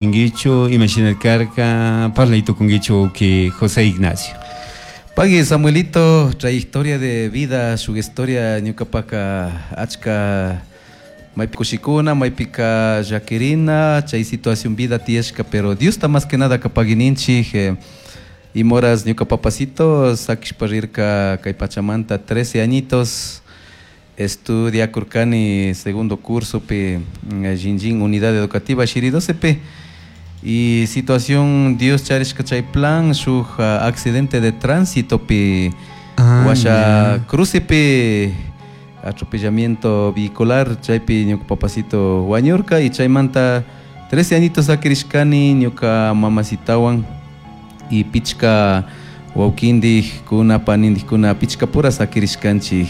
Inguichu, imashina karka, parlay tukunguichu que José Ignacio. Pagui Samuelito, trayectoria de vida, su historia ñuqapaka achka maypi kushikuna, maypika llakirina, chay situación vida tiyashka, pero Diosta más que nada kapaguininchik imoras ñuka papacito sakishpa rirka kay pachamanta 13 añitos estudiakurkani segundo curso pi Jinjin Unidad Educativa Shiri 12 pi y situación Dios charishka chay plan shuk accidente de tránsito pi washa cruce pi atropellamiento vehicular chaypi ñuka papacito wañurka y chaymanta 13 añitos sakirishkani ñuka mamacitawan y pichka wawkindik kuna panindik kuna pichka pura sakirishkanchik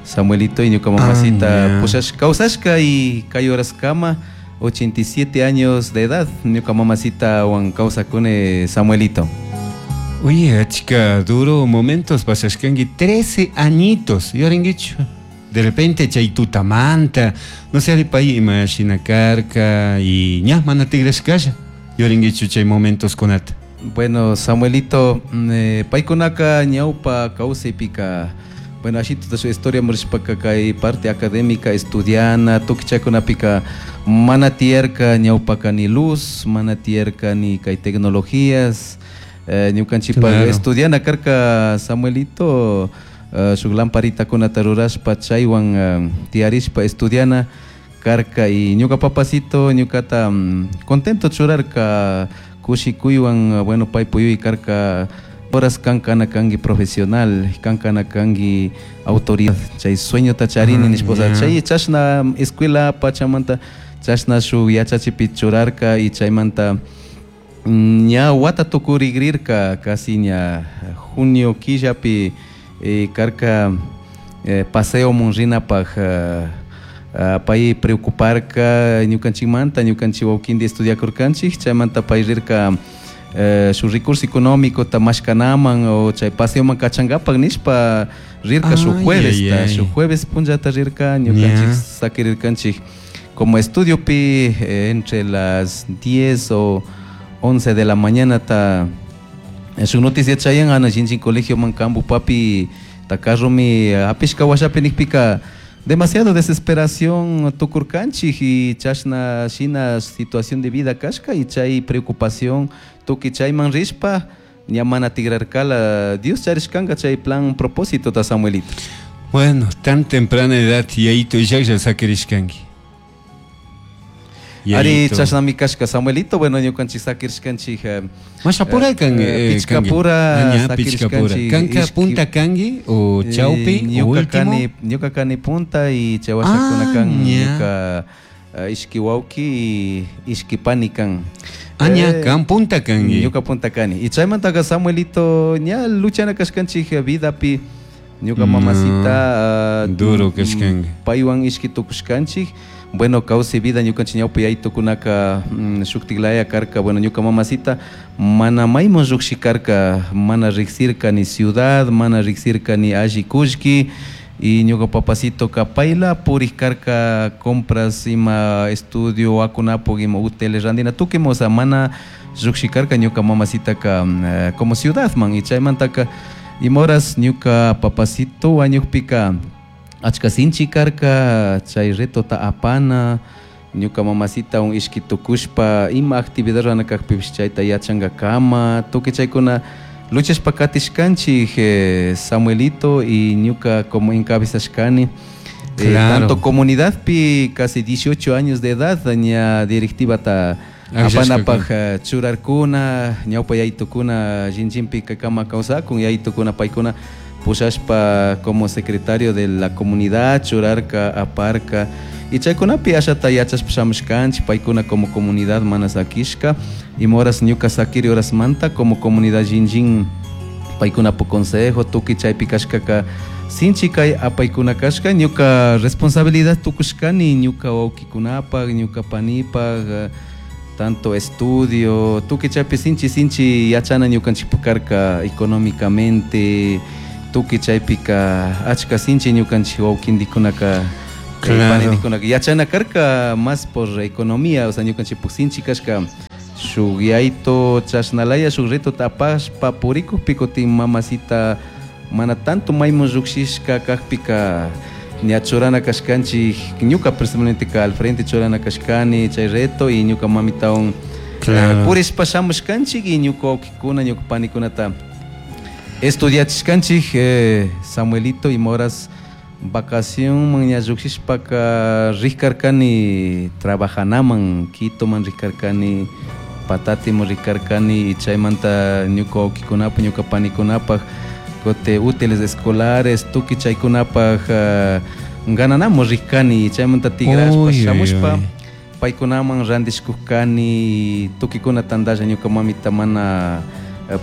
Samuelito y ñuka mamacita pushash kawsashka y kay horaskama 87 años de edad ñuka mamacita wan kawsakuni Samuelito. Oye, chica, duro momentos pasashkanki 13 añitos, yuringuichu. De repente chay tutamanta, no sé, pay ima shina karka y ña mana tigrashkasha. Yuringuichu chay momentos kunata. Bueno, Samuelito, paykunaka ñawpa kawsaypika, bueno, así toda su historia murishpaka kay parte académica estudiana, tukichakunapika mana tiyarka ñawpaka ni luz, mana tiyarka ni kay tecnologías, ñukanchikpa Claro. estudiana karka Samuelito, shuk lamparitakunata rurashpa chaywan tiyarishpa estudiana karka y ñuka papacito ñukata contento churarka kushikuywan, bueno, pay puyuy karka horas kankana kanki profesional, kankana kanki autoridad, chay sueñota charini nishpa, chay chashna escuela pachamanta chashna shuk yachachipi churarka y chaymanta ña wata tukurigrirka casi ña junio killapi karka paseo munrinapaj pay preocuparka ñukanchikmanta, ñukanchik wawkindi estudiakurkanchik, chaymanta pay rirka su recurso económico ta mashkanaman o chay paseoman kachankapak nishpa rirka su jueves, ta, su jueves punllata rirka ñukanchik sakirirkanchik como estudio pi entre las 10 o 11 de la mañana ta su noticia chayan ana Jinjin colegio man kambu papi ta carro mi apishka washapi nikpika demasiado desesperación tukurkanchik y chashna shina situación de vida kashka y chay preocupación tuki chayman rishpa ña mana tigrarkala Dios charishkanka chay plan propósito ta Samuelito. Bueno, tan temprana edad yayito llaqlla sakirishkanki. Ari Yayito. chashnami kashka Samuelito, bueno, ñukanchik sakirishkanchik, Mashapura kan, pichkapura kangi. Ah, ña, pichkapura. sakirishkanchik, Kanka ishki punta kangi o chawpi o ñuka último? kani, ñuka kani punta y chaywashakuna Ah, kan, ña. ñuka ishki wawki y ishki pani kan. Ah, ña, kan punta kangi. Ñuka punta kani. Y chaymantaka Samuelito, ña luchana kashkanchik vidapi, ñuka mamacita, Duro kashkanki. paywan ishki tukushkanchik. Bueno, kawsay vida ñukanchik ñawpa yaytukunaka, shuktiklaya karka, bueno, ñuka mamacita mana mayman lluqshi karka, mana riksirka ni ciudad, mana riksirka ni alli kullki, y ñuka papacito ka payla purik karka compras ima estudio akunapuk ima hoteles randina tukima, o sea, mana lluqshi karka ñuka mamacita ka, como ciudad man, y chaymantaka ima horas ñuka papacito wañukpika achka sinchi karka chay retota apana ñuka mamacita un ishki tukushpa ima actividad rurana kakpipish chayta yachankakama tukuy chaykuna luchashpa katishkanchik, Samuelito y ñuka como encabezashkani. Tanto comunidadpi casi 18 años de edad ña directivata Akllashka apanapaj, kan. churarkuna ñawpa yaytukuna Jinjinpi kama kawsakun yaytukuna paykuna pushashpa como secretario de la comunidad churarka aparka y chaykunapi ashata yachashpa shamushkanchik paykuna como comunidad mana sakishka y moras ñuka sakiri horasmanta como comunidad Jinjin paykunapu consejo tukuy chaypi kashkaka sinchi kay apaykuna kashka ñuka responsabilidad tukushkani ñuka wawkikunapaj ñuka panipaj, tanto estudio tukuy chaypi sinchi sinchi yachana ñukanchikpa karka económicamente tukuy chaypika achka sinchi ñukanchik wawkindikunaka Claro. Yachana karka más por economía, o sea, ñukanchikpuk sinchi kashka shuk yayto chashnalaya shuk reto tapashpa purikukpi kutin mamacita mana tanto maymun llukshishka kakpika ña churana kashkanchik, ñuka personalmente al frente churana kashkani chay reto y ñuka mamitawan Claro. Purishpa shamushkanchik y ñuka wawkikuna ñuka panikunata estudiachishkanchik. Samuelito, y moras vacación ña llukshishpaka rikarkani trabajanaman, Quitoman rikarkani, Patatiman rikarkani, y chaymanta ñuka wawkikunapak ñuka panikunapak kote útiles escolares tukuy chaykunapak gananamun rikani, chaymanta tigrashpa shamushpa paykunaman randishkukani tukuykuna tantalla ñuka mamita mana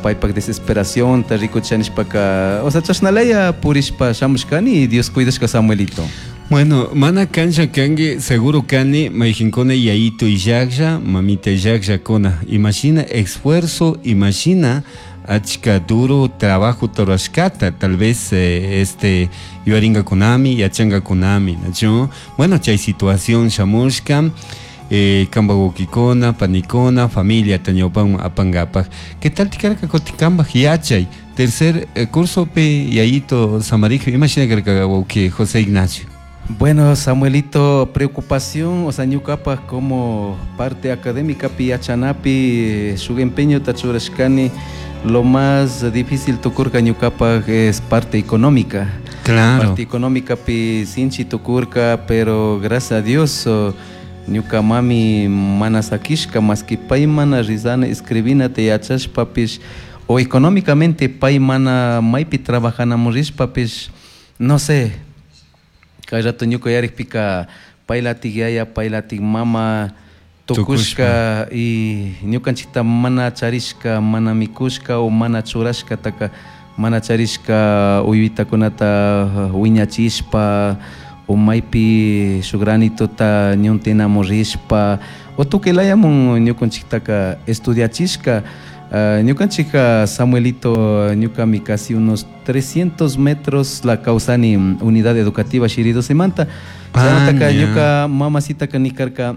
paypak desesperacionta rikuchanishpaka, o sea, chashnalaya purishpa shamushkani y Dios cuidashka, Samuelito. Bueno, mana kancha kanki, seguro kani, mayjinkuna yayito illaklla, mamita illakllakuna. Imagina esfuerzo, imagina achka duro trabajo rurashkata, tal vez yuyaringakunami, yachangakunami, ¿no? Bueno, chay situación shamushka, kamba wawkikuna, panikuna, familia ñawpaman apangapak. ¿Qué tal tikarka kutin kambaj yachay? Tercer curso pe yayito Samarijo, imagina karka wawki José Ignacio. Bueno, Samuelito, preocupación, o sea, ñukapak como parte académica pi yachanapi shuk empeño churashkani, lo más difícil tukurka ñukapak es parte económica. Claro. Parte económica pi sinchi tukurka, pero gracias a Dios ñuka mami mana sakishka, más que pay mana rizana escribina te yachashpapish o económicamente pay mana maypi trabajanamun rishpapish, no sé, kay rato ñuka yarikpika paylatik yaya, paylatik mama tukushka y ñukanchikta mana charishka, mana mikushka o mana churashkataka mana charishka uywitakunata wiñachishpa o maypi shuk granitota ñuntinamun rishpa o tukuy ñukanchiktaka estudiachishka. Ñukanchika Samuelito, ñukami casi unos 300 metros la kawsani unidad educativa Shiridosimanta. Chaymantaka ñuka mamacitaka nikarka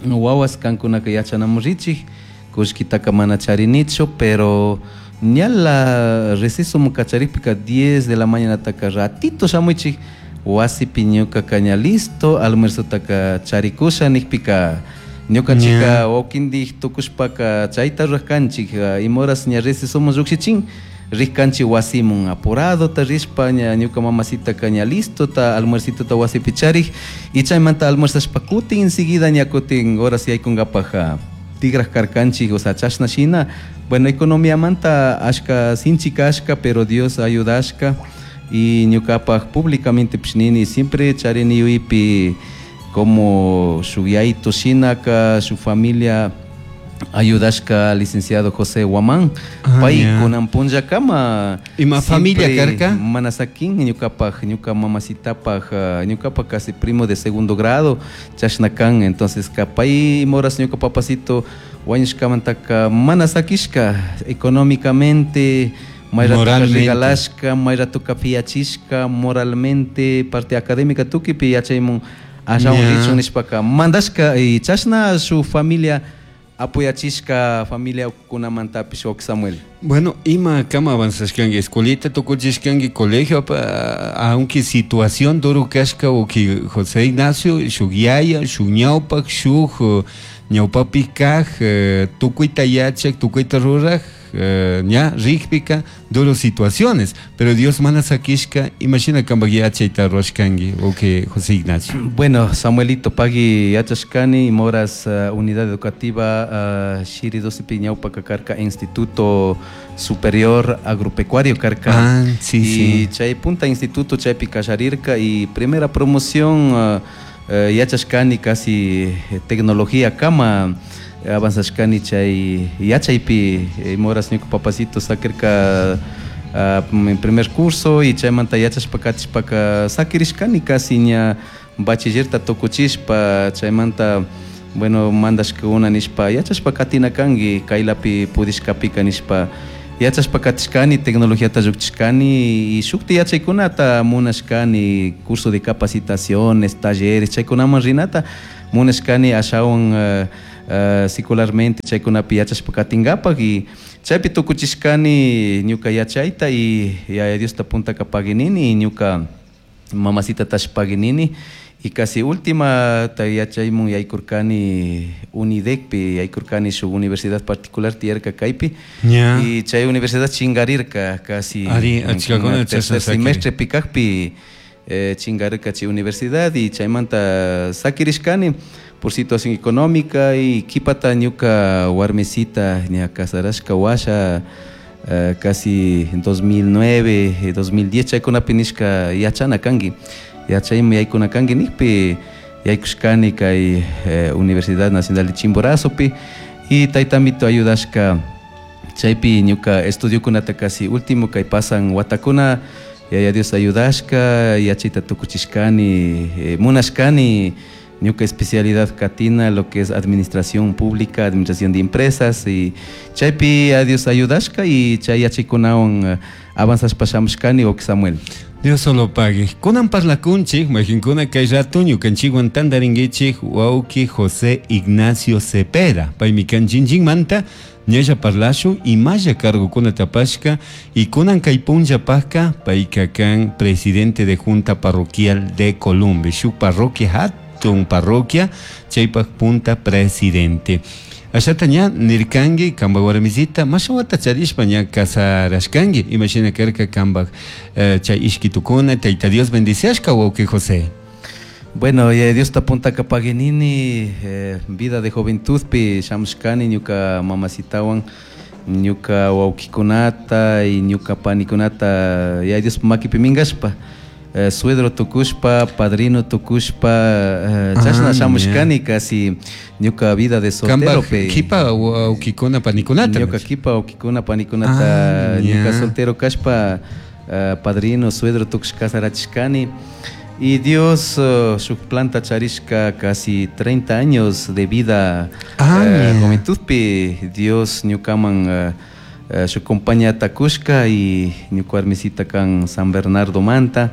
wawas kankunaka yachanamun richik, kullkitaka mana charinichu, pero ñala receso kacharikpika 10 de la mañanataka ratito shamuychik wasipi ñukaka ña listo almuerzotaka charikusha nikpika ñukanchika wawkindik tukushpaka chayta rurajkanchik, imahoras ña recesomun llukshichin rijkanchik wasimun apuradota rishpa ña ñuka mamacitaka ña listota almuercitota wasipi charik y chaymanta almuerzashpa kutin enseguida ña kutin horas yaykunkapak tigraj karkanchik, o sea, chashna shina. Bueno, economiamanta ashka sinchi kashka, pero Dios ayudashka y ñukapak públicamente pish nini siempre charini yuyaypi como shuk yayito shinaka su familia ayudashka licenciado José Guamán. Pay kunan punllakama Ima familia karka? Mana sakin ñukapak, ñuka mamacitapak, ñukapak casi primo de segundo grado chashna kan, entonces ka pay moras ñuka papacito wañushkamantaka mana sakishka económicamente, may ratoka Moralmente. Regalashka, may ratoka piachishka, moralmente, parte académica tukipi yachaymun ashawan richun nishpaka mandashka y chashna su familia apoyachishka, familia ukunamantapish wawki Samuel. Bueno, ima kama avanzashkanki, escuelita tukuchishkanki, colegio, aunque situación duro kashka wawki José Ignacio, shuk yaya, shuk ñawpak, shuk ñawpapi kaj, tukuyta yachak, tukuyta ruraj, ña rikpika duro situaciones, pero Dios mana sakishka, imagina kambak yachayta rurashkanki, wawki José Ignacio. Bueno, Samuelito, pagui yachashkani, moras unidad educativa Shiri Dosipi ñawpaka karka Instituto Superior Agropecuario karka. Ah, sí, y sí. Chay punta instituto chaypi kallarirka y primera promoción yachashkani casi tecnología kama avanzashkani chay yachaypi, moras ñuka papacito sakirka en primer curso y chaymanta yachashpa katishpaka sakirishkani casi ña bachillerta tukuchishpa chaymanta bueno mandashkuna nishpa yachashpa katina kanki kaylapi pudishkapika nishpa. Yachashpa katishkani, tecnologiata llukchishkani y shukti yachaykunata munashkani, curso de capacitaciones, talleres, chaykunaman rinata munashkani ashawan secularmente chaykunapi yachashpa katinkapak y chaypi tukuchishkani ñuka yachayta y Yaya Diosta puntaka paginini y ñuka mamacita tash paginini y casi última ta yachaymun yaykurkani Unidecpi yaykurkani shuk universidad particular tiyarka kaypi y chay universidad chingarirka casi Ari, achkakuna tercer semestre pikakpi chingarirka chay universidad y chaymanta sakirishkani por situación económica y kipata ñuka warmisita ña casarashka washa casi 2009, 2010 chaykunapi nishka yachana kanki yachayman yaykuna kanki nikpi yaykushkani kay Universidad Nacional de Chimborazopi y taytamito ayudashka chaypi ñuka estudiokunata casi último kay pasan watakuna Yaya Dios ayudashka yachayta tukuchishkani munashkani ñuka especialidad katina lo que es administración pública, administración de empresas y chaypi a Dios ayudashka y chay yachaykunawan avanzashpa shamushkani wawki Samuel. Dios solo pague. Kunan parlakunchik, majinkuna kay rato ñukanchikwan tantarinkichik wawki José Ignacio Cepeda. Paymi kan manta ñalla parlashun imalla cargokuna tapashka y kunan kay punllapajka payka kan presidente de Junta Parroquial de Columbe. Shuk parroquia hatun parroquia chaypaj punta presidente. Ashata ña nirkanki kambak warmisita masha wata charishpa ña casarashkanki imashina karka kambak chay ishkitukuna Tayta Dios bendiciashka wawki José. Bueno, Yaya Diosta puntaka paginini vida de juventudpi shamushkani ñuka mamasitawan ñuka wawkikunata y ñuka panikunata Yaya Diospa makipi minkashpa suegro tukushpa, padrino tukushpa, chashna shamushkani casi ñuka vida de soltero pe. Kipa wawkikuna panikunata. Ñuka kipa wawkikuna panikunata ñuka soltero kashpa padrino, suegro tukush casarachishkani. Y Dios shuk planta charishka casi 30 años de vida juventudpi Dios ñukaman shuk compañía kushka y ñuka warmisita kan San Bernardo Manta.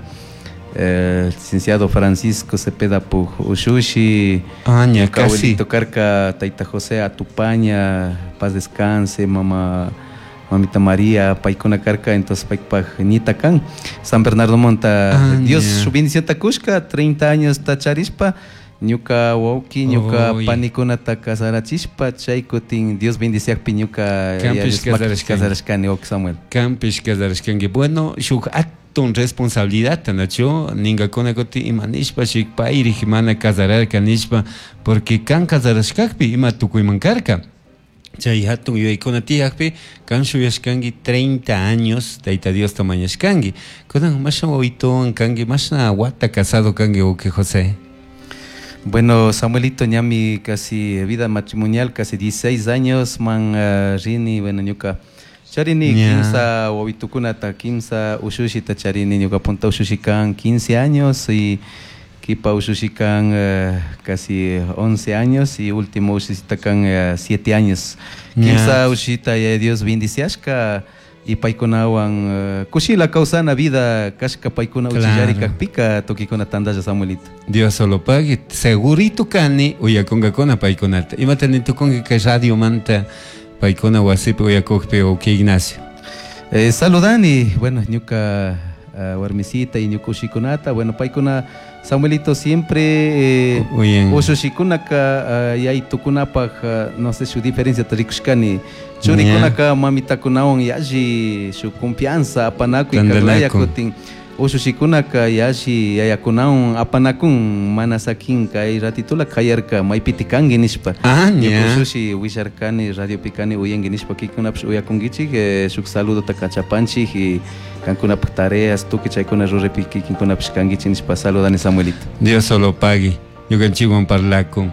Licenciado Francisco Cepeda Puj Ushushi, ña, casi. Karka Taita José Atupaña, paz descanse, mamá mamita María, paykuna karka, entonces paypaj ñita kan San Bernardo Monta. Dios su bendición takushka, 30 años tacharishpa, ñuka wawki, ñuka panikunata casarachishpa, chay kutin Dios bendiciakpi ñuka Kampish casarashkani wawki Samuel. Kampish casarashkanki. Bueno, shuk hatun responsabilidad nacho ningakuna kuti ima nishpa shik payrij mana casararka nishpa porque kan casarashkakpi ima tukuyman karka. Chay hatun yuyaykuna tiyakpi kan shuyashkanki 30 años Tayta Diosta mañashkanki. Kunan mashna wawituwan kanki, mashna wata casado kanki wawki José. Bueno, Samuelito, ñami casi vida matrimonial, casi 16 años man rini, bueno, ñuka charini kimsa wawitukunata, kimsa ushushita charini, ñuka punta ushushi kan 15 años y kipa ushushi kan casi 11 años y último ushushita kan 7 años. Kimsa ushushita ya Dios bendiciashka y paykunawan kushila kawsana vida kashka paykuna uchillari kakpika tukikuna tandalla Samuelito. Dios solo pague, segurito kani uyakunkakuna paykunata. Imata nitukunki kay radio manta paykuna wasipi uyakukpi wawki Ignacio. Saludani, bueno, ñuka warmisita y ñuka ushikunata, bueno, paykuna Samuelito siempre ushushikunaka yaytukunapaj no sé su diferencia tarikushkani churikunaka mamitakunawan yalli su confianza apanakuy karlaya kutin ushushikunaka yalli yayakunawan apanakun mana sakin kay ratitula kayarka maypiti kanki nishpa. Ñuka ushushi willarkani radiopi kani uyanki nishpa kikunapish uyakunkichik shuk saludota kachapanchik y kankunapaj tareas tukuy chaykuna ruraypi kikinkunapish kankichik nishpa saludani Samuelito. Dios solo pague, ñukanchikwan parlakun.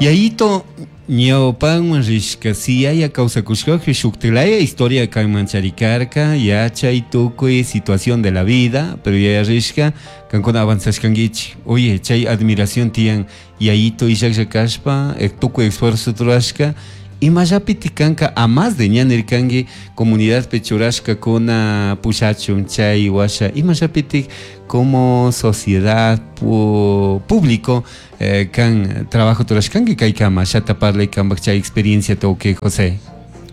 Yayito ñawpanman rishka si yaya kawsakushkakpi shuktilaya historia kanman charikarka yachay tukuy situación de la vida, pero yaya rishka kankuna avanzashkankichik. Oye, chay admiración tiyan yayito illaklla kashpa tukuy esfuerzo rurashka Imallapiti kanka a más de ña nirkanki comunidadpi churashkakuna pushachun chay washa imallapiti como sociedad público kan trabajo turashkanki kaykama shata parlay kanpak chay experiencia toque José.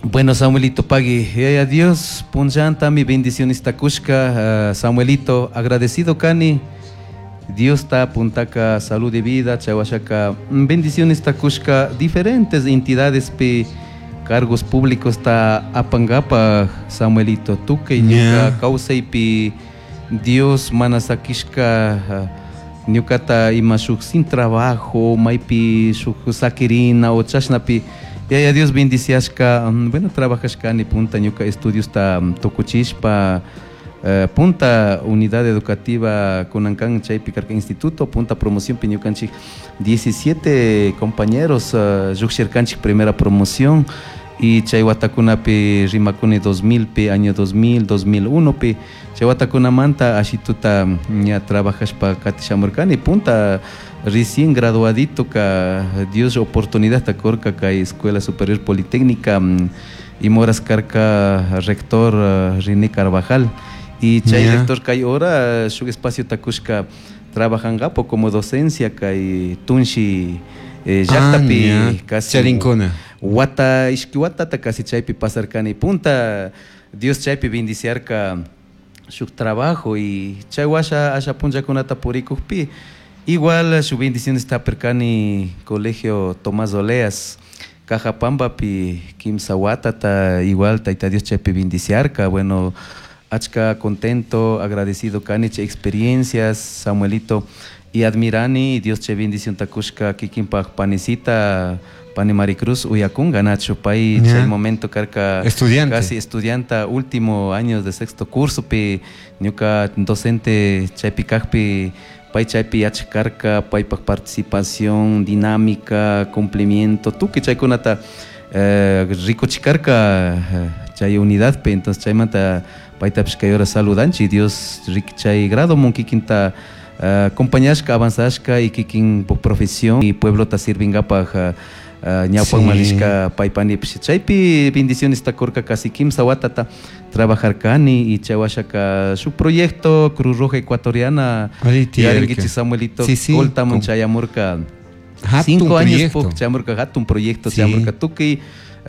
Bueno, Samuelito pagui, yaya Dios punllanta mi bendiciones takushka, Samuelito, agradecido kani, Dios ta puntaka salud y vida, chawashaka, bendiciones takushka, diferentes entidades pe cargos públicos ta apangapa, Samuelito, tuke ñuka kawsaypi Dios mana sakishka, ñukata ima shuk sin trabajo, maypi shuk sakirina o chashnapi, yaya Dios bendiciashka, bueno, trabajashkani punta ñuka estudios ta tukuchishpa, punta unidad educativa kunankan chaypi karka instituto, punta promoción pi ñukanchik 17 compañeros, lluqshirkanchik primera promoción y chay watakunapi rimakuni 2000 pi, año 2000, 2001 pi, chay watakunamanta ashituta ña trabajashpa katishamurkani, punta recién graduadito ka Dios oportunidad ta kurka kay Escuela Superior Politécnica, y moras karka rector René Carvajal y chay rector kay hora shuk espacio takushka trabajangapo como docencia kay Tunshi llaqtapi casi charinkuna wata ishki watata casi chaypi pasarkani, punta Dios chaypi bendiciarka shuk trabajo y chay washa asha punllakunata purikukpi igual su bendición está perkani colegio Tomás Oleas Cajapambapi kimsa watata igual tayta Dios chaypi bendiciarka, bueno, achka contento, agradecido kani chay experiencias, Samuelito, y admirani Dios chay bendición takushka kikinpaj panisita pani Maricruz uyakunga nacho pay chay momento karka estudiante casi estudianta último año de sexto curso pi ñuka docente chaypi kajpi pay chaypi yachkarka paypaj participación dinámica cumplimiento tukuy chaykunata rikuchikarka chay unidad pi, entonces chaymanta paytapish kay hora saludanchik Dios chay grado mun kikinta acompañashka avanzashka y kikin profesión y pueblota sirvingapaj ñawpakman rishka paypanipish chaypi bendiciones takurka casi kimsa watata trabajarkani y chay washaka shuk proyecto Cruz Roja Ecuatoriana yarinkichik Samuelito Coltamun chayamurka 5 años chayamurka hatun proyecto chayamurka tukuy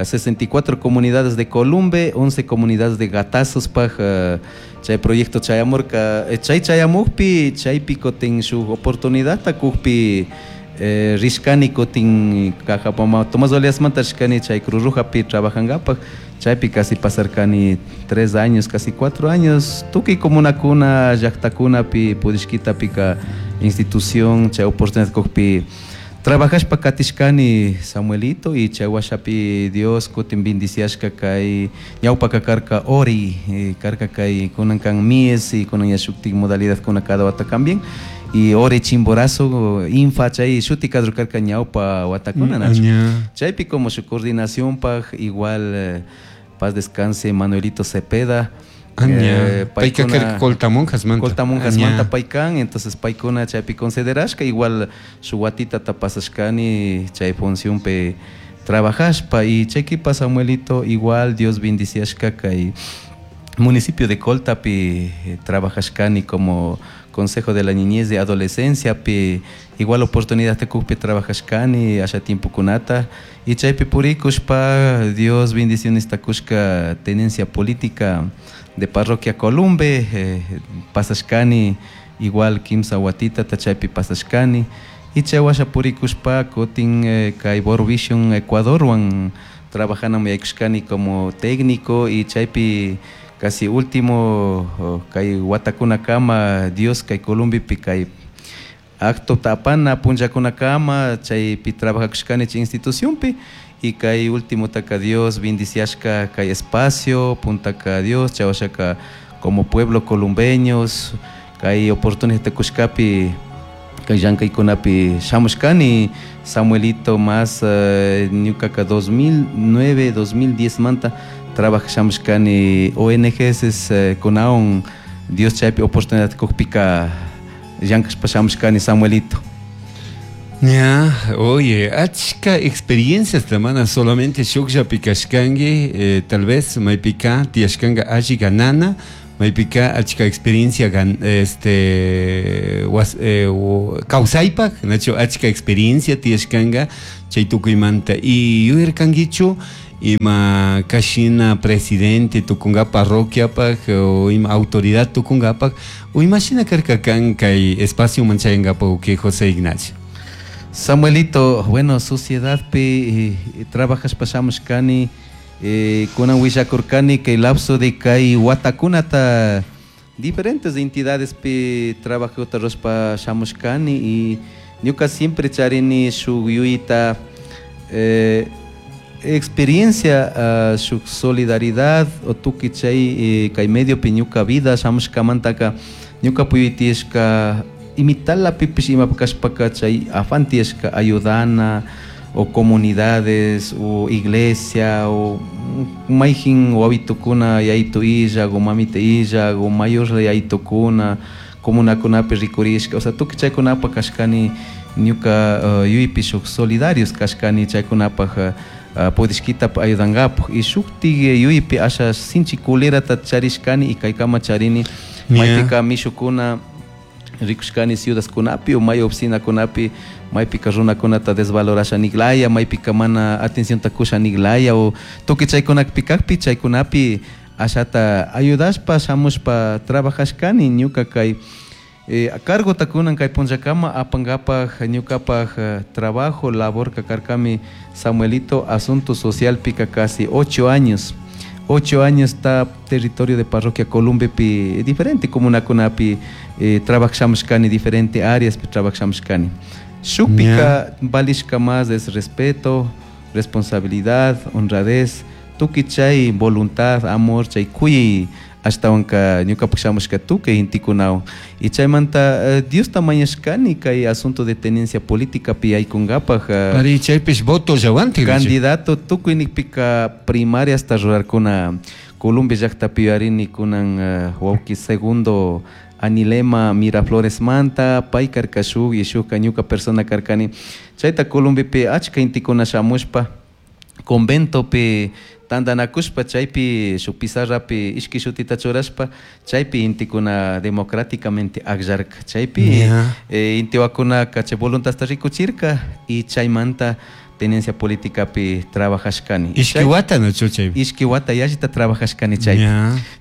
64 comunidades de Columbe, 11 comunidades de Gatazos paj chay proyecto chayamurka chay chayamukpi chaypi kutin shuk oportunidad takukpi rishkani kutin Cajapama Tomás Oleasmanta rishkani chay Cruz Rojapi trabajangapak chaypi casi pasarkani 3 años casi 4 años tukuy comunakuna llaqtakunapi purishkitapika institución chay oportunidad kukpi trabajashpa katishkani Samuelito y chay washapi Dios kutin bendiciashka kay ñawpaka karka ori karka kay kunan kan mies y kunan yashuktik modalidad kuna cada wata cambian y ori Chimborazo infa chay shuti kadru karka ñawpa watakuna nacho chaypi como su coordinación paj igual paz descanse Manuelito Cepeda Payka karka Coltamonjasmanta. Coltamonjasmanta paykan, entonces paykuna chaypi considerashka igual su watita pasashkani chay función pe trabajashpa y chaykipa Samuelito igual Dios bendiciashka kay municipio de Coltapi trabajashkani como Consejo de la Niñez de Adolescencia pi igual oportunidad tekukpi trabajashkani asha tiempo kunata y chaypi purikushpa Dios bendiciones takushka tenencia política de parroquia Columbe, pasashkani igual kimsa watita chaypi pasashkani y chay washa purikushpa kutin kay World Vision Ecuadorwan trabajana yaykushkani como técnico y chaypi casi último kay watakunakama Dios kay Columbipi kay acto tapana punllakunakama chaypi trabajakushkani chay institucionpi y kay último taka Dios bendiciashka kay espacio puntaka Dios chay washaka como pueblo columbeños kay oportunidad kushkapi kay llankaykunapi shamushkani Samuelito más ñukaka 2009 2010 manta trabajashamushkani ONGs kunawan Dios chaypi oportunidad kukpika llankashpa shamushkani Samuelito. Ya, oye, achka experiencias mana solamente shukllapi kashkanki, tal vez maypika tiyashkanka alli ganana, maypika achka experiencia kawsaypak, nachu achka experiencia tiyashkanka chay tukuymanta. Y yuyarkankichu ima kashina presidente tukunga parroquiapak o ima autoridad tukungapak o imashina karka kan kay espacio manchayangapak que José Ignacio. Samuelito, bueno, sociedad pi trabajas pasamos kani kunan willakurkani kay lapso de kay watakunata diferentes entidades pi trabajota rospa shamushkani y ñuka siempre charini shuk yuyita experiencia shuk solidaridad o tuki chay kay medio pi ñuka vida shamushkamantaka ñuka puyutishka imitala pipish imapakashpaka chay afán tiyashka ayudana o comunidades o iglesia o mayjin wawitukuna yaytu illak o mamita illak o mayorla yaytukuna comunakunapi rikurishka, o sea tukuy chaykunapaq kashkani ñuka yuypi shuk solidarios kashkani chaykunapaq pudishkitap ayudankapak y shuktik yuypi asha sinchi culerata charishkani y kaykama charini maypika mishukuna rikushkani ciudadkunapi o may oficinakunapi maypika runakunata desvalorasha niklaya maypika mana atencionta kusha niklaya o tukuy chaykunapi kakpi chaykunapi ashata ayudashpa shamushpa trabajashkani ñuka kay cargota kunan kay punllakama apankapaj ñukapaj trabajo labor karkami Samuelito asunto social pika casi 8 años. 8 años está territorio de parroquia Columbepi diferente comunakunapi trabajamos kani diferente áreas pi trabajamos kani. Shukpika valishka más es respeto, responsabilidad, honradez, tukuy chay voluntad, amor, chay kuyay ashtawanka ñukapak shamushka tukuy gentekunawan y chaymanta Diosta mañashkani kay asunto de tenencia política pi yaykunkapaj Ari chaypish voto llawantik candidato tukuy nikpika primaria hasta rurarkuna Colombia llaktapi yuyarini kunan wawki segundo Anilema Miraflores manta pay karka shuk y shukka ñuka persona karkani chayta Colombiapi achka intikuna shamushpa conventopi tantanakushpa chaypi shuk pizarrapi ishki shutita churashpa chaypi intikuna democráticamente akllarka chaypi intiwakunaka chay voluntadta rikuchirka y chaymanta tenencia políticapi trabajashkani. Ishki wata nachu chaypi? Ishki wata yallita trabajashkani chaypi.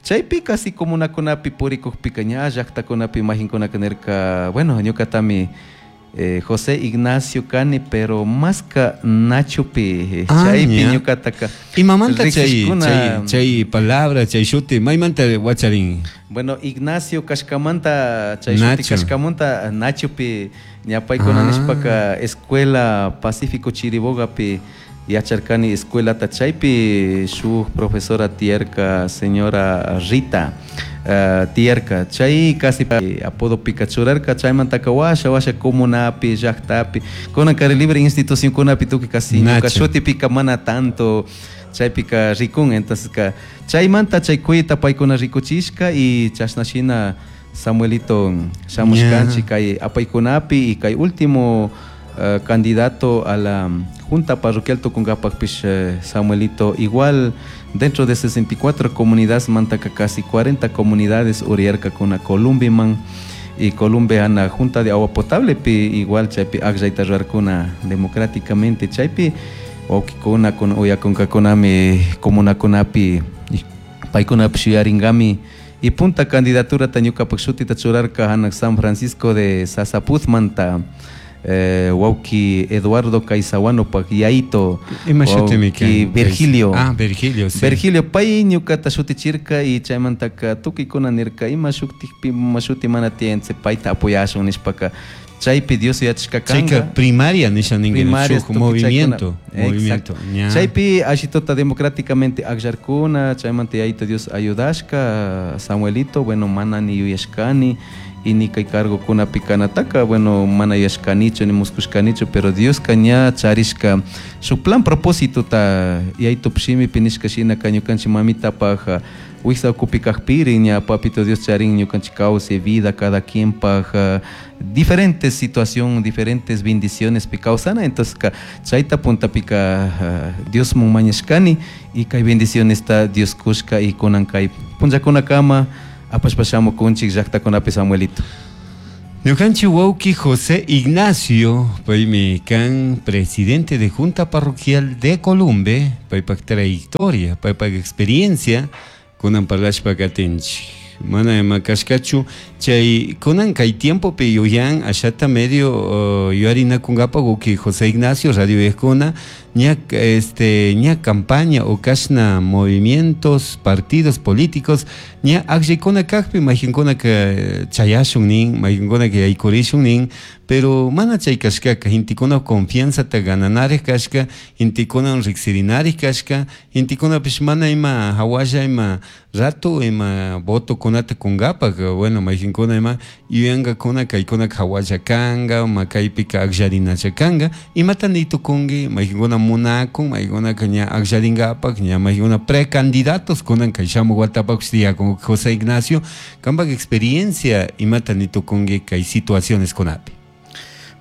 Chaypi casi comunakunapi purikukpika ña llaktakunapi majinkunaka nirka bueno ñukatami José Ignacio kani pero maska Nachopi chaypi ñukataka. Imamanta chay palabra chay shuti maymanta wacharin? Bueno, Ignacio kashkamanta chay shuti kashkamanta Nachopi ñapaykuna nishpaka escuela Pacífico Chiribogapi yacharkani escuelata chaypi shuk profesora tiyarka señora Rita tiyarka chay casi apodo churarka chaymantaka washa washa comunapi llaktapi kunan kari libre institución kunapi tukuy casi ñuka shutipika mana tanto chaypika rikun entonces ka chaymanta chay kuyta paykuna rikuchishka y chashna shina Samuelito shamushkanchik kay apaykunapi y kay último candidato a la Junta Parroquial Tucungapacpish Samuelito igual dentro de 64 comunidades mantaka casi 40 comunidades uriyarka kuna Columbiman y Columbia ana Junta de Agua Potable pi igual chaypi akllayta rurarkuna democráticamente chaypi wawkikuna kun uyakunkakunami comunakunapi paykunapish yuyarinkami y punta candidaturata ñukapak shutita churarka hanak San Francisco de Sasapuzmanta wawki Eduardo Caizahuanopak yayito wawki Virgilio. Ah, Virgilio, sí. Virgilio pay ñukata shutichirka y chaymantaka tukuykuna nirka ima shuktikpi ima shuti mana tiyan payta apoyashun nishpaka chaypi Dios yachashka kanka. Chayka primaria nisha ninki shuk movimiento, movimiento. Chaypi ashitota democráticamente akllarkuna chaymanta yayito Dios ayudashka Samuelito bueno mana ni yuyashkani. Y ni kay cargokunapi kanataka, bueno, mana yashkanichu ni muskushkanichu, pero Dioska ña charishka shuk plan propósito ta yaytup shimipi nishka shinaka ñukanchik mamitapaj wiksa ukupi kajpiri ña papito Dios charin ñukanchik kawsay vida cada quien paj diferentes situación, diferentes bendiciones pi kawsana. Entonces ka chayta puntapika Diosmun mañashkani y kay bendicionesta Dios kushka y kunan kay punllakunakama apashpa shamukunchik llaktakunapi, Samuelito. Ñukanchik wawki José Ignacio, paymi kan presidente de Junta Parroquial de Columbe, paypak trayectoria, paypak experiencia, kunan parlashpa katinchik. Mana ima kashkachu chay kunan kay tiempopi yuyan ashata medio yuyarinakunkapa wawki José Ignacio radio viejkuna ña ña campaña o kashna movimientos partidos políticos ña akllaykuna kakpi mayqinkunaka chayashun nin, mayqinkunaka yaykurishun nin, pero mana chay kashkaka gentekuna confianzata gananarik kashka, gentekuna riksirinarik kashka, gentekunapish mana ima hawalla ima rato ima votokunata kunkapak. Bueno, mayqinkuna ima yuyankakuna kaykunaka hawalla kanka, ma kaypika akllarinacha kanka. Imata nitukunki mayqinkuna munakun, mayqinkunaka ña akllarinkapak, ña mayqinkuna precandidatos kunan kay shamuk watapak tiyakun? José Ignacio, kampak experiencia, imata nitukunki kay situaciones kunapi?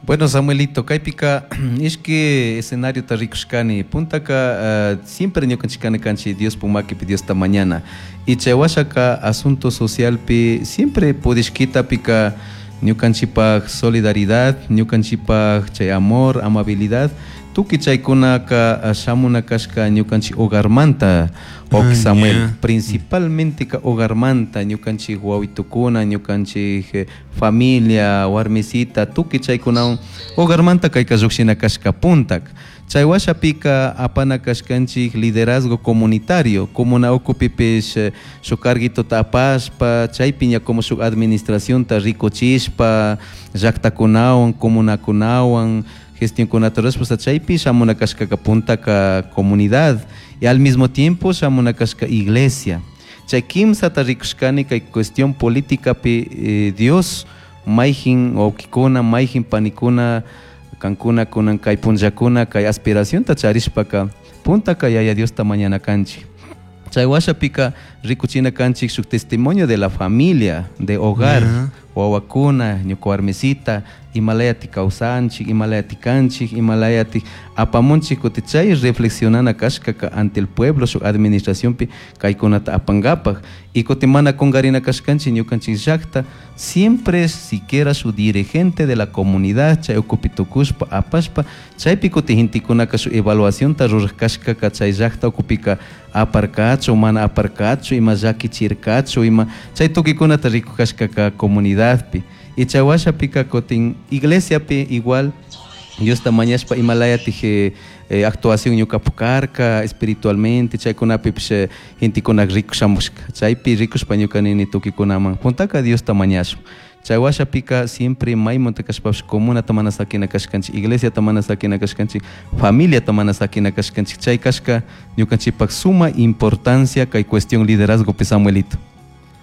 Bueno, Samuelito, kaypika ishki escenariota rikushkani. Puntaka siempre ñukanchik kana kanchik Diospuk makipi, Diosta mañana. Y chay washaka asunto socialpi siempre pudishkitapika ñukanchikpak solidaridad, ñukanchikpak chay amor, amabilidad, tukuy chaykunaka shamuna kashka ñukanchik hogarmanta, wawki Samuel. Principalmente ka hogarmanta ñukanchik wawitukuna, ñukanchik familia, warmisita, tukuy chaykunawan hogarmanta kayka llukshina kashka puntak. Chay washapika apana kashkanchik liderazgo comunitario, comuna ukupipish shuk carguitota apashpa, chaypi ña como shuk administracionta rikuchishpa, llaktakunawan, comunakunawan, gestionkunata rurashpa, chaypi shamuna kashkaka puntaka comunidad y al mismo tiempo shamuna kashka iglesia. Chay kimsata rikushkani kay cuestión políticapi. Dios mayjin wawkikuna, mayjin panikuna, kankuna kunan kay punllakuna kay aspiracionta charishpaka, puntaka Yaya Diosta mañana kanchik. Chay washapika rikuchina kanchik shuk testimonio de la familia, de hogar, wawakuna, ñuka warmisita, imalayati kawsanchik, imalayati kanchik, imalayati apamunchik. Kuti chay reflexionana kashkaka ante el pueblo shuk administracionpi kaykunata apankapak. Y kuti mana kunkarina kashkanchik ñukanchik llakta siempre siquiera su dirigente de la comunidad chay ukupi tukushpa apashpa, chaypi kuti gentekunaka shuk evaluacionta rurak kashkaka chay llakta ukupika aparkachu, mana aparkachu, ima llakichirkachu, ima chay tukuykunata rikuk kashkaka comunidadpi. Y chay washapika kutin iglesiapi igual Diosta mañashpa imalayatij actuación ñukapak karka espiritualmente, chaykunapipish gentekuna rikushamushka. Chaypi rikushpa ñuka nini tukuykunaman, puntaka Diosta mañashun. Chay washapika siempre maymunta kashpapish comunata mana sakina kashkanchik, iglesiata mana sakina kashkanchik, familiata mana sakina kashkanchik. Chay kashka ñukanchikpak suma importancia kay cuestión liderazgopi, Samuelito.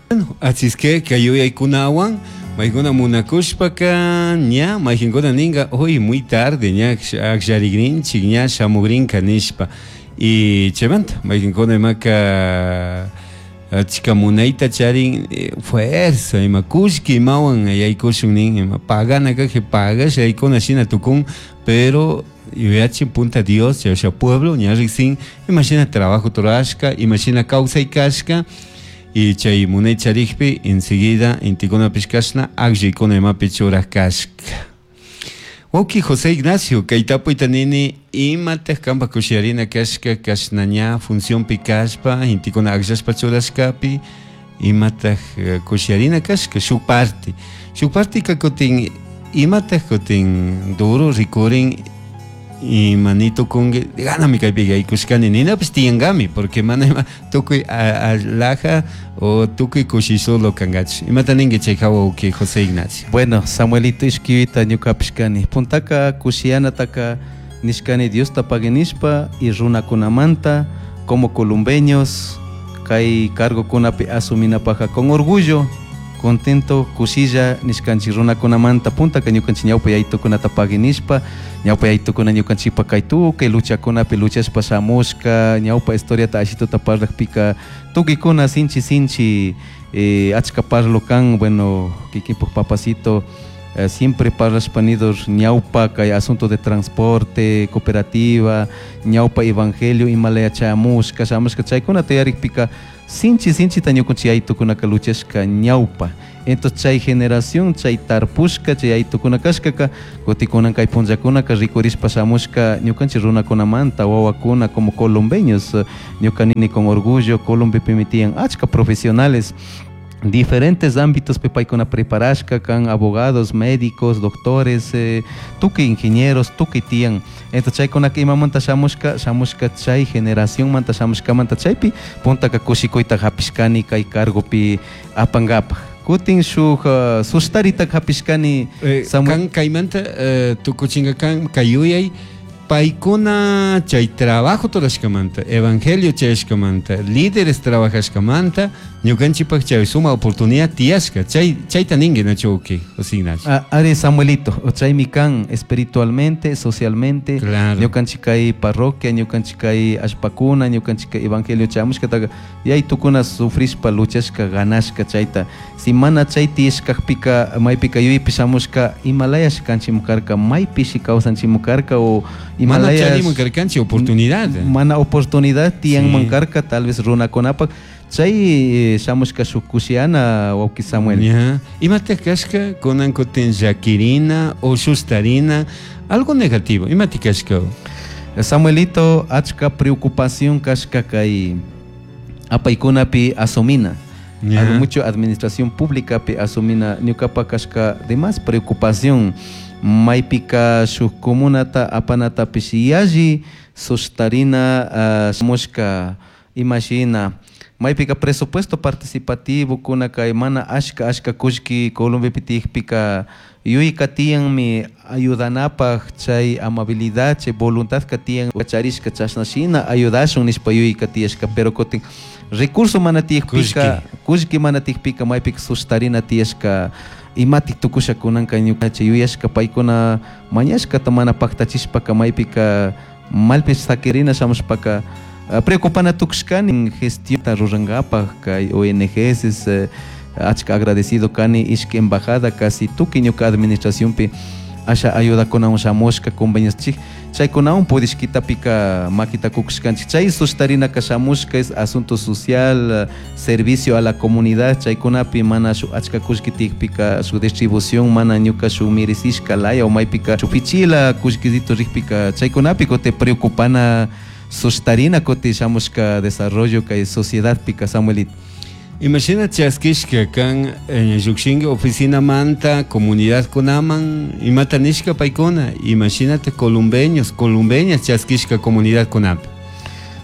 Bueno, así es que kay yuyaykunawan maykuna munakushpaka ña mayqinkuna ninka hoy muy tarde ña akllarikrinchik, ña shamukrinka nishpa. Y chaymanta mayqinkuna imaka achka munayta charin, fuerza ima kullki imawan yaykushun nin, ima pagana kajpi pagasha yaykuna shina tukun, pero yuyachin punta Dios chayasha pueblo ña riksin imashina trabajo rurashka, imashina kawsay kashka. Y chay munay charikpi enseguida intikunapish kashna akllaykuna imapi churak kashka. Wawki José Ignacio, kay tapuyta nini: imataq kanpak kushiyarina kashka kashna ña funcionpi kashpa, intikuna akllashpa churashkapi, imataq kushiyarina kashka shuk parte? Shuk partika kutin imataq kutin duro rikurin, ima nitukunki ganami kaypi yaykushkani ninapish tiyankami, porque mana ima tukuy laja o tukuy kushi solo kankachu? Imata ninki chay hawa, wawki José Ignacio? Bueno, Samuelito, ishkivita ñukapish kani. Puntaka kushiyanataka nishkani Diosta pagui nishpa y runakunamanta como columbeños kay cargokunapi asuminapaka con orgullo. Contento, kushilla nishkanchik runakunamanta puntaka ñukanchik ñawpa yaytukunata pagui nishpa, ñawpa yaytukuna ñukanchikpa kay tukuy luchakunapi luchashpa shamushka, ñawpa historiata ashituta parlakpika tukuykuna sinchi sinchi achka parlo kan. Bueno, kikinpuk papacito siempre parlashpa nidor ñawpa kay asunto de transporte, cooperativa, ñawpa evangelio imalaya chayamushka shamushka chaykunata yarikpika sinchi sinchita ñukanchik yaytukunaka luchashka ñawpa. Entonces chay generación, chay tarpushka, chay yaytukuna kashkaka, kutikunan kay punllakunaka rikurishpa shamushka ñukanchik runakunamanta wawakuna como colombeños, ñuka nini con orgullo, Colombepimi tiyan achka profesionales diferentes ámbitos paykuna preparashka kan, abogados, médicos, doctores, tukuy ingenieros, tukuy tiyan. Entonces chaykunaka imamanta shamushka, shamushka chay generacionmanta shamushkamanta chaypi puntaka kushikuyta hapishkani kay cargopi apankapaj. Kutin shuk sustarita hapishkani. Kan kaymanta tukuchinka kan kay yuyay paykuna chay trabajo rurashkamanta, evangelio chayashkamanta, líderes trabajashkamanta, ñukanchikpak chay suma oportunidad tiyashka, chay chayta ninki nachu uki José Ignacio. Ari Samuelito, chaymi kan espiritualmente, socialmente, Claro. ñukanchik kay parroquia, ñukanchik kay allpakuna, ñukanchik kay evangelio chayamushkataqa yaytukuna sufrishpa luchashka ganashka chayta. Si mana chay tiyashkakpika maypika yuyaypi shamushka imalayash kanchimu karka, maypishi kawsanchimu karka o Mana imalayash charimun karkanchik oportunidad. Mana oportunidad tiyanman Sí. karka tal vez runakunapak chay shamushka shuk kushiana wawki Samuel. Ya. Imata kashka kunan kutin llakirina o sustarina, algo negativo, imata kashka? Samuelito, achka preocupación kashka kay apaykunapi asumina. Ya. Algo mucho administración pública pi asumina ñukapa kashka de más preocupación maypika shuk comunata apanatapish yalli sustarina shamushka imashina maypika presupuesto participativo kuna kay mana ashka ashka kullki Colombiapi tiyakpika yuyayka tiyanmi ayudanapaj chay amabilidad chay voluntad ka tiyan charishka chashna shina ayudashun nishpa yuyayka tiyashka, pero kutin recurso mana tiyakpika kullki mana tiyakpika maypika sustarina tiyashka imatik tukusha kunanka ñuka chay yuyashka paykuna mañashkata mana paktachishpaka maypika malpish sakirina shamushpaka preocupana tukushkani gestión rurankapaj kay ONGs, achka agradecido kani ishki embajada casi tukuy ñuka administracionpi asha ayudakunawan shamushka convenios chik chaykunawan pudishkitapika makita kukushkanchik chay sustarinaka shamushka es asunto social, servicio a la comunidad chaykunapi mana shuk achka kullki tiyakpika shuk distribución mana ñuka shuk merecishka laya o maypika shuk pichila kullkisito rikpika chaykunapi kutin preocupana sustarina kutin shamushka desarrollo kay sociedadpika Samuelito. Imagina chaskishka kan llukshinki oficina manta comunidad kunaman imata nishka paykuna, imagínate columbeños, columbeñas chaskishka comunidad kunapi.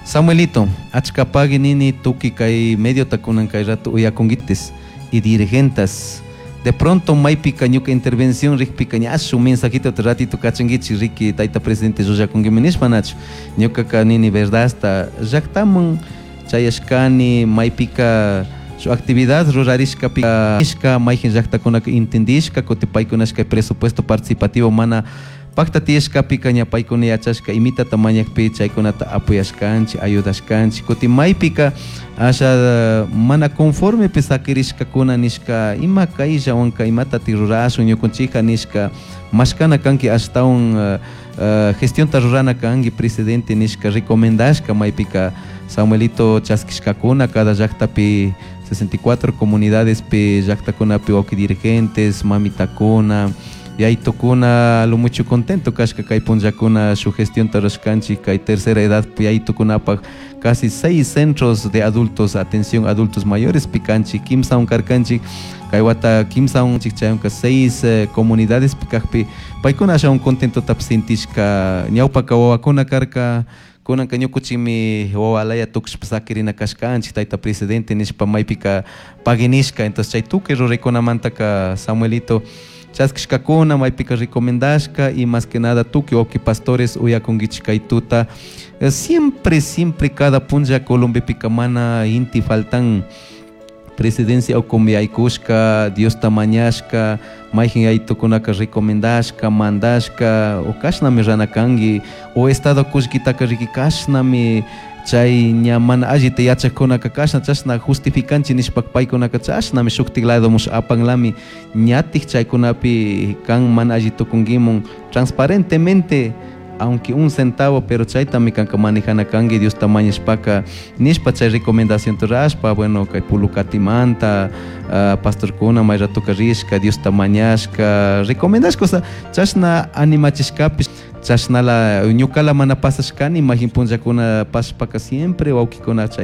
Samuelito, achka pagui nini tuki kay medio takunan kay rato uyakunguites y dirigentas. De pronto maypika ñuka intervención rikpika ña shuk mensajito te ratito kachanguichi riki tayta presidente llullakunguimi nishpa nachu. Ñukaka nini verdad hasta llaktaman chayashkani maypika su actividad rurarishka ishka mayjin llaktakunaka intendishka kuti paykunashka presupuesto participativo mana pakta tiyashkapika ña paykuna yachashka imitata mañakpi chaykunata apoyashkanchik ayudashkanchik kuti maypika asha mana conformepi sakirishkakuna nishka ima kayllawanka imatati rurashun ñukunchikka nishka mashkana kanki ashtawan gestionta rurana kanki presidente nishka recomendashka maypika Samuelito chaskishkakuna cada llaktapi 64 comunidades pi llaktakunapi wawki dirigentes mamitakuna yaytukuna lo mucho contento kashka kay punllakuna shuk gestionta rurashkanchik kay tercera edad yaytukunapaj casi 6 centros de adultos atención adultos mayores pikanchik kimsawan karkanchik kay wata kimsawan chaywanka 6 comunidades pikakpi paykuna ashawan contentota sintishka ñawpaka wawakuna karka kunanka ñukuchikmi wawalaya tukushpa sakirina kashkanchik tayta presidente nishpa maypika paguinishka. Entonces chay tukuy ruraykunamantaka Samuelito chaskishkakuna maypika recomendashka y más que nada tukuy wawki pastores uyakunkichik kay tuta. Siempre siempre cada punlla Colombiapika mana inti faltan. Presidencia ukumi yaykushka, Diosta mañashka, mayjin yaytukunaka recomendashka, mandashka, o kashnami rana kanki, o estado kullkitaka riki kashnami chay ña mana allita yachakkunaka kashna chashna justificanchik nishpa paykunaka chashnami shuktik ladomush apanlami ñatik chaykunapi kan mana alli tukunkimun transparentemente, aunque un centavo, pero chaytami kanka manejana kanki Diosta mañashpaka nishpa chay recomendación rashpa, bueno, kay pulukatimanta pastorkuna may ratoka rishka Diosta mañashka recomendashka, o sea, chashna animachishkapish chashnala ñukala mana pasashkani majin punllakuna pasashpaka siempre wawkikuna chay.